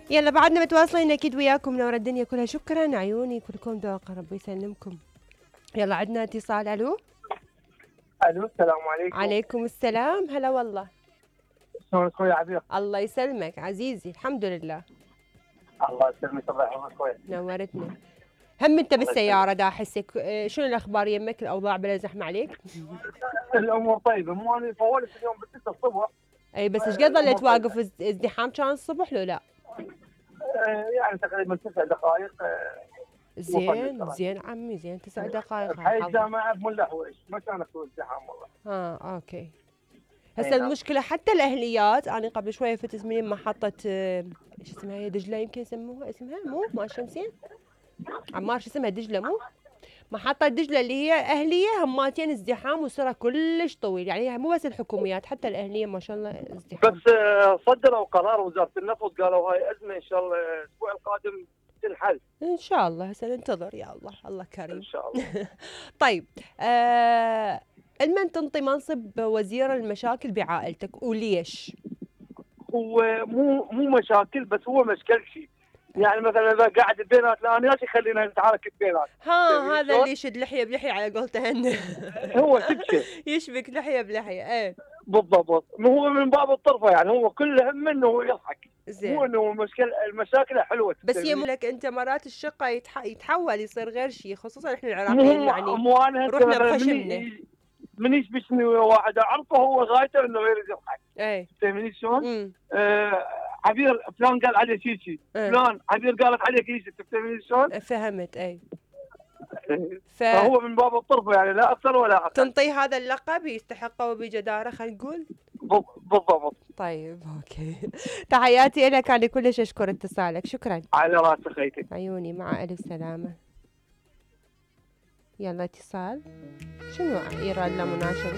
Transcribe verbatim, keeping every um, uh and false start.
يلا بعدنا متواصلين اكيد وياكم منور الدنيا كلها. شكرا عيوني كلكم ذوق، ربي يسلمكم. يلا عندنا اتصال. الو الو السلام عليكم. عليكم السلام. هلا والله. شلونك اخوي عبير؟ الله يسلمك عزيزي. الحمد لله. الله يسلمك الله يحفظك اخوي. نورتنا. هم انت بالسياره دا احسك. شنو الاخبار يمك؟ الاوضاع بلا زحمه عليك؟ الامور طيبه. مو انا فولت اليوم بالستة الصبح. اي بس ايش قد ظليت واقف؟ ازدحام كان الصبح لو لا؟ يعني تقريبا تسع دقائق. زين زين عمي زين تسع دقائق. بحي الجامعه بملا حويش ما كان اكو ازدحام والله. اه اوكي. هسه المشكله حتى الاهليات، انا قبل شويه فتت من محطه ايش اسمها هي دجله يمكن يسموها اسمها مو ما الشمسين عمار شو اسمها دجله مو محطه دجله اللي هي اهليه هماتين ازدحام وسرعه كلش طويل. يعني مو بس الحكوميات حتى الاهليه ما شاء الله ازدحام. بس صدروا قرار وزاره النفط قالوا هاي ازمه ان شاء الله الاسبوع القادم تنحل ان شاء الله. هسه ننتظر يا الله. الله كريم ان شاء الله. طيب آه المن تنطي منصب وزير المشاكل بعائلتك وليش؟ هو مو مو مشاكل بس هو مشكل شيء. يعني مثلا اذا قاعد بينات لا انا خلينا نتعارك بينات. ها هذا اللي يشد لحيه بلحيه على قولته هن. هو تبكي يشبك لحيه بلحيه. ايه بالضبط. هو من باب الطرفه يعني هو كل همه انه هو يضحك. زين. مو انه المشكله المشاكل حلوه. بس يملك انت مرات الشقه يتح... يتحول يصير غير شيء، خصوصا احنا العراقيين يعني مو انا رحنا بخشمنا. من يشبشني واحد اعرفه هو غايته انه يريد يضحك. اي فهمتني شلون؟ آه عبير فلان قال عليه شيء شيء، فلان عبير قالت عليه شيء، تفهمني شلون؟ فهمت. اي ف... فهو من باب الطرف يعني لا اكثر ولا اقل. تنطيه هذا اللقب يستحقه وبجداره خلينا نقول. بالضبط. طيب اوكي. تحياتي لك، انا كلش اشكر اتصالك. شكرا. على راسي خيتي. عيوني مع الف سلامه. يلا اتصال. شنو يراد له مناشد؟